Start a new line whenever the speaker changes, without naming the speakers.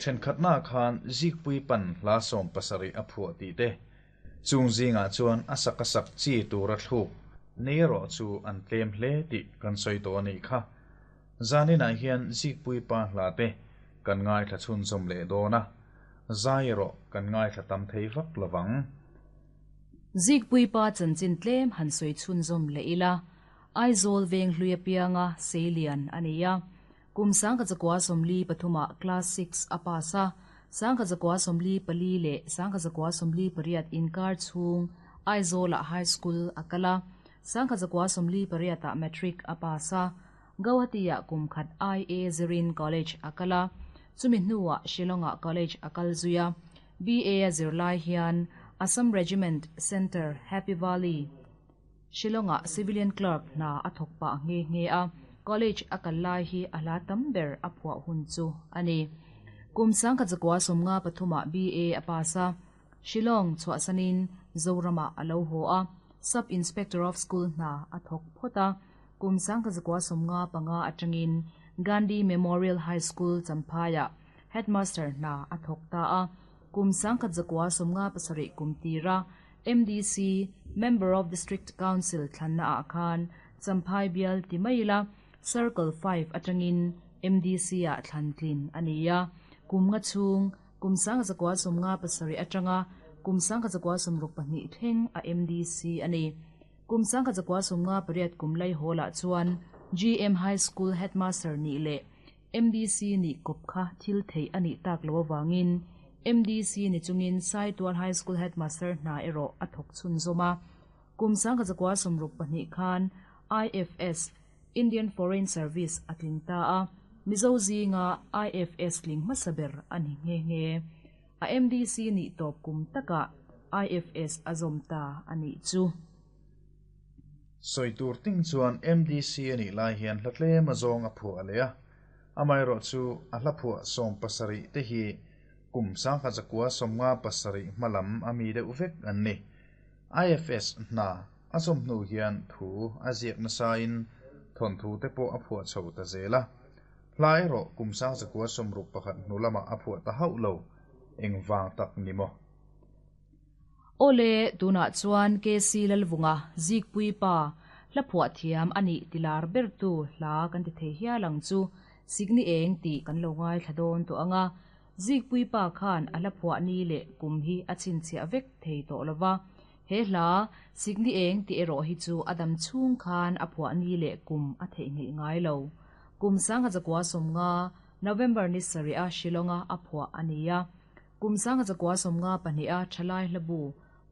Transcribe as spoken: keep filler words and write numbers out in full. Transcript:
Thenkhatna khan Zikpui pan hla sawm pasarih a phuah tih te. Chung zingah chuan a sak a sak chi tura thluk nei erawh chu an tlem hle tih kan sawi tawh a nih kha. Zaninah hian Zikpui pa hla te kan ngaithla chhunzawm leh dawn a, zai erawh kan ngaithla tam thei vak lovang.
Zikpui pa chanchin tlem han sawi chhunzawm leh ila, Aizawl veng hlui apianga seilian a ni a. Kum sangkhat zakua sawmli pathumah class six a pass a, sangkhat zakua sawmli pali leh sangkhat zakua sawmli pariat inkar chhung Aizawlah high school a kal a, sangkhat zakua sawmli pariatah matric a pass a, Guwahati-ah kum khat I A zirin college a kal a, chumi hnuah Shillong-ah college a kal zui a, B A a zirlai hian Assam Regiment Centre Happy Valley, Shillong-ah civilian clerk hna a thawk pah nghe nghe a, college a kal lai hi a hla tam ber a phuah hun chu a ni. Kum sangkhat zakua sawmnga pathumah B A a pass a, Shillong chhuahsanin Zoramah a lo haw a, Sub Inspector of School hna a thawk phawt a, kum sangkhat zakua sawmnga panga atangin Gandhi Memorial High School Champhaiah headmaster hna a thawk ta a, kum sangkhat zakua sawmnga pasarih kum tira M D C Member of District Council thlanna ah khan Champhai bial ti mai ila Circle five atangin M D C ah thlan tlin a ni a, kum nga chhung kum sangkhat zakua sawmnga pasarih atanga kum sangkhat zakua sawmruk pahnih thleng a M D C a ni. Kum sangkhat zakua sawmnga pariat kum lai hawlah chuan G M High School headmaster nih leh M D C nih kawp kha thil theih a nih tak lo awangin M D C ni chungin Saitual High School headmaster hna erawh a thawk chhunzawm a. Kum sangkhat zakua sawmruk pahnih khan I F S Indian Foreign Service a tling ta a, Mizo zinga I F S tling hmasa ber a ni nghe nghe. A M D C nih tawp kum takah I F S a zawm ta a nih chu.
Sawi tur ting chuan M D C a nih lai hian hla tlem a zawng a phuah leh a, amaherawh chu a hla phuah sawm pasarih te hi kum sangkhat zakua sawmnga pasarih hmalam a mi deuh vek an ni. I F S hna a zawm hnu hian thu a ziak nasain thawnthu te pawh a phuah chho ta zel a. Hla erawh kum sang zakua sawmruk pakhat hnu lamah a phuah ta hauh lo, engvang tak ni maw?
Awle, tunah chuan K C Lalvunga Zikpui pa hla phuah thiam a nih tilar bertu hla kan ti thei hial ang chu, Sikni eng tih kan lo ngaithla dawn tawh anga. Zikpui pa khan a hla phuah ni leh kum hi a chhinchhiah vek thei tawh lova, he hla Sikni eng tih erawh hi chu a dam chhung khan a phuah ni leh kum a theihnghilh ngai lo. Kum sangkhat zakua sawmnga November ni sarih a Shillonga a phuah a ni a, kum sangkhat zakua sawmnga pahnih a Thalai hlabu